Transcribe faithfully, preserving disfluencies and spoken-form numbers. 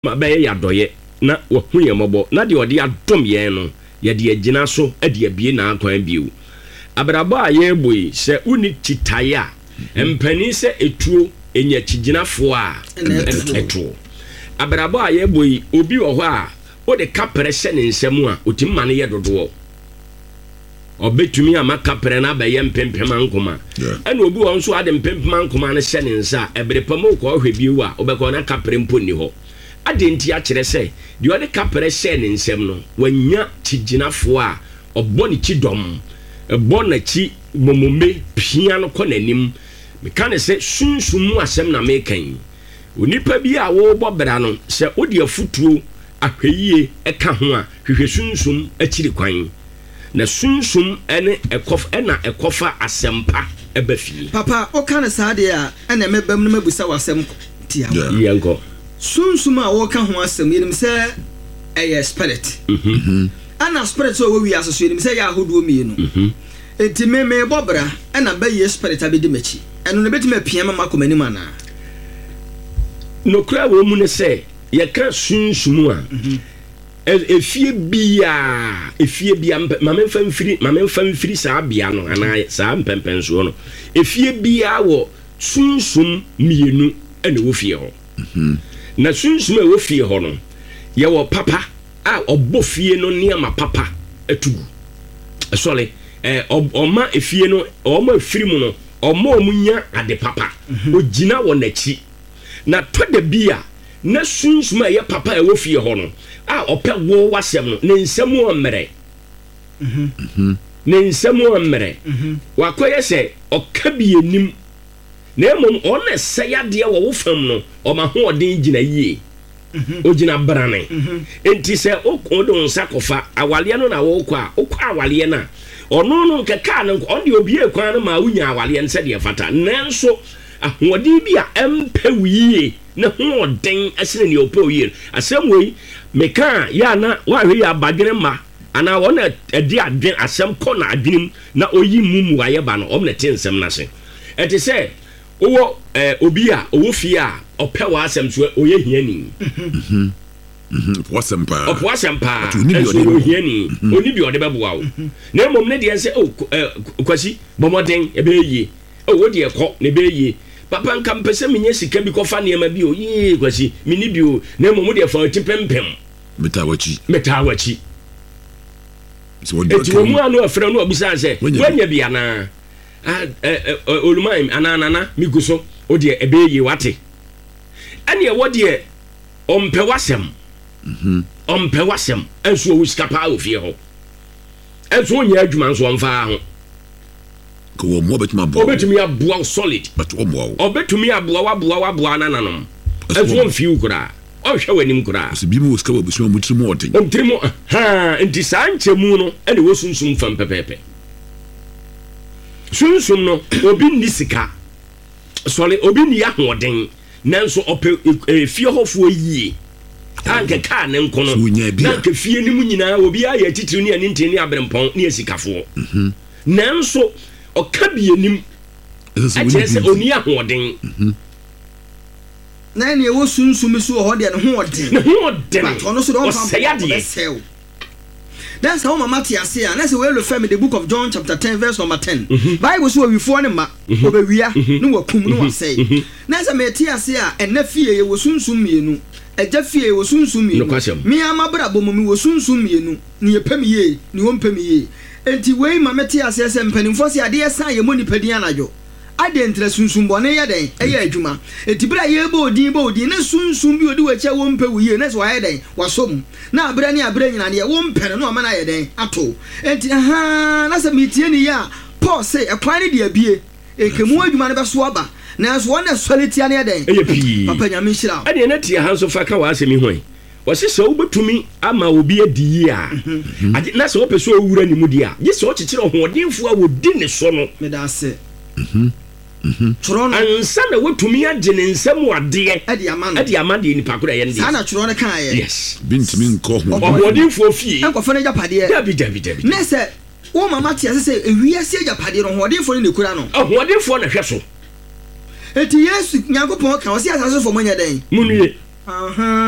Ma bɛyɛ yɛn adɔeɛ na wahu yɛn mmɔbɔ, na deɛ ɔde adom yɛn no, yɛde agyina so de abue n'akwan bio. Abrabɔ a yɛrebɔ yi, sɛ wonni kyitaeɛ a, mpanin sɛ etuo nya kyigyinafoɔ a, ɛtoɔ. Abrabɔ a yɛrebɔ yi, obi wɔ hɔ a, wode kaprɛ hyɛ ne nsam a, ɔtumi ma no yɛ dodoɔ. Ɔbɛtumi ama kaprɛ no abɛyɛ mpempem ankoma. Ɛna obi wɔ hɔ nso a, ade mpempem ankoma no hyɛ ne nsa a, ɛbere pa mu wokɔ hwɛ bio a, wobɛkɔ na kaprɛ mpo nni hɔ. Adɛn nti akyerɛ sɛ deɛ ɔde kaprɛ hyɛɛ ne nsam no, wanya kyigyinafoɔ a ɔbɔ ne kyidɔm, bɔ n'akyi momome, pia no kɔ n'anim. Meka no sɛ sunsum mu asɛm na meka yi. Onipa bi a worebɔ bra no, sɛ wode afotuo, ahwɛyie ka ho a, hwehwɛ sunsum akyiri kwan. Na sunsum ne ɛkɔ na ɛkɔfa asɛmpa ba fie. Papa, woka no saa deɛ a, ɛnna mɛba mu na mabisa wo asɛm tiawa. Yɛnkɔ. Sunsum a woreka ho asɛm, yɛnim sɛ ɛyɛ spirit. Ɛnna spirit a ɛwɔ wiase so, yɛnim sɛ ɛyɛ ahodoɔ mmienu. Enti me, merebɔ bra, ɛnna bayie spirit abɛdi m'akyi. Ɛno no, ɛbɛtumi apia me makɔ m'anim anaa? Nokorɛ a ɛwɔ mu ne sɛ, yɛka sunsum a, Efie biara, efie biara, mpɛ, ma memfa mfiri, ma memfa mfiri saa bea no anaa saa mpɛmpɛnsoɔ no. Efie biara wɔ sunsum mmienu na ɛwɔ fie hɔ. Mhm. Na sunsum a ɛwɔ fie hɔ no, yɛwɔ papa a ɔbɔ fie no nneɛma papa to gu. Sɔre, ɛɛ, ɔma efie no, wɔn a efiri mu no, ɔma wɔn nya ade papa. Mhm. Ogyina wɔn akyi. Na tɔ da bi a, na sunsum a ɛyɛ papa a ɛwɔ fie hɔ no a ɔpɛ wo w'asɛm no, ne nsa mu ɔmmerɛ. Ne nsa mu ɔmmerɛ. Wakɔyɛ sɛ ɔka bi anim, na mmom ɔno na ɛsɛe adeɛ wɔ wo fam no, ɔma ahoɔden gyina yie. Ogyina brane. Enti sɛ wode wo nsa kɔfa awaleɛ no na wokɔ a, wokɔ awaleɛ no a, ɔno no nkɛkaa no, ɔno deɛ obiee kwan no maa wonya awaleɛ no sɛdeɛ ɛfata. Nanso ahoɔden bi a ɛmpɛ wo yie ne hoɔden sene nea ɔpɛ wo yie no. Asɛm wei meka a, yɛ a na woanhwɛ yie a badwene mma anaa wɔn a ɛde adwene asɛm kɔ n'adwene mu na ɔyi mu mmuaeɛ ba no, wɔn na ɛte nsɛm no ase. Ɛte sɛ wowɔ eh, obi a ɔwɔ fie a ɔpɛ w'asɛm so ɔyɛ hiani. Ɔpɛ w'asɛm paa. Ɔpɛ w'asɛm paa, nso ɔyɛ ohiani. Ɔnni deɛ ɔde bɛboa wo. Na mmom ne deɛ sɛ, oh, eh, Kwasi, bɔ mmɔden, ɛbɛyɛ yie. Oh, wo deɛ kɔ, na ɛbɛyɛ yie. Papa, nka mepɛ sɛ menya sika bi kɔfa nneɛma bi o. Yee, Kwasi, menni bi o. Na mmom wo deɛ fa w'ati pempem. Metaa w'akyi. Metaa w'akyi. Enti wɔn mu ano afrɛ no abusa sɛ, woanya bi anaa? Ah, eh, eh, Oluman anaa Nana, megu so. Wo deɛ ɛbɛyɛ yie, wate. Ɛne ɛwɔ deɛ ɔmpɛ w'asɛm. Mhm. Ɔmpɛ w'asɛm. Ɛnso ɔwɔ sika paa wɔ fie hɔ. Ɛnso ɔnyɛ adwuma nso ɔmfaa ho. Ka wɔn mmoa bɛtumi aboa wo. Ɔbɛtumi aboa wo solid. But ɔmmoa wo. Ɔbɛtumi aboa wo aboa wo aboa nananom. Ɛnso ɔmfii wo koraa. Ɔnhwɛ w'anim koraa. Ɔsɛ binom wɔ sika wɔ abusua mu, wɔn tiri mu ɔden. Wɔn tiri mu haa nti saa nkyɛmu no ɛna ɛwɔ sunsum fam pɛpɛɛpɛ. Sunsum no obi nni sika. Sɔre obi nni ahoɔden nanso ɔpɛ efie hɔfoɔ yie. Anka kaa ne nko no na anka fie no mu nyinaa obiara yɛ atitiriw ne anintini ne aberempɔn ne asikafoɔ. Mhm. Nanso ɔka bi anim ɛkyerɛ sɛ ɔnni ahoɔden. Mhm. Na ɛne ɛwɔ sunsum so wɔ hɔ deɛ ne ho ɔden. Ne ho ɔden. But ɔno so deɛ ɔmfa ɔsɛe adeɛ. Ɔbɛsɛe wo. Na sɛ woma mate ase a, na sɛ wei refer me the book of John chapter ten verse number ten. Mhm. Bible so owifoɔ ne mma, Mhm. ɔbɛwia, Mhm. ne wakum, ne wasɛe. Na sɛ mete ase a, ɛna fie yɛwɔ sunsum mmienu, agya fie yɛwɔ sunsum mmienu, Nokwasɛm. me ara m'abrabɔ mu mewɔ sunsum mmienu, nea ɛpɛ me yie, nea ɔmpɛ me yie. Enti wei ma mete aseɛ sɛ mpanimfoɔ se adeɛ sa a yɛmmɔ nnipa din anadwo. Adɛn nti na sunsum bɔne yɛ dɛn? Ɛyɛ adwuma. Enti bere a yɛrebɔ wo din, bɔ wo din, na sunsum bi a odi w'akyi a wompɛ wo yie, na sɛ wayɛ dɛn? Wasɔ mu. Na aberɛ ne aberɛ nyinaa, deɛ wompɛ no, na wama no ayɛ dɛn? Ato wo. Enti, ahaa, na sɛ metie no yie a, Paul se, ɛkwan no deɛ abue, nka mu adwuma no bɛso aba, nanso wɔn a ɛsɔre tia no yɛ dɛn? Ɛyɛ pii. Papa, Nyame nhyira wo. Ɛdeɛ na tie ha nso fa ka w'asɛm yi ho ɛ. Ɔse sɛ wobɛtumi ama obi adi yie a, agye, na sɛ wopɛ sɛ owura ne mu deɛ a, gye sɛ ɔkyekyere ɔhoɔdenfoɔ a wɔdi ne so no. Meda ase. Twerɛ no. Ansa na watumi agye ne nsa mu adeɛ. De ama no. De ama deɛ nipa korɔ a ɛyɛ ne deɛ. Saa na twerɛ no kaeɛ. Yes. Obi ntumi nkɔ ɔhoɔdenfoɔ fie. Nkɔfa n'agyapadeɛ. Dabi, dabi, dabi. Ne sɛ woma mate ase sɛ ewiase agyapadeɛ no, ɔhoɔdenfoɔ no na ɛkura no. Ɔhoɔdenfoɔ na ɛhwɛ so. Enti Yesu, Nyankopɔn ka, ɔse asase sofoɔ monyɛ dɛn? Monnue. Ahaa.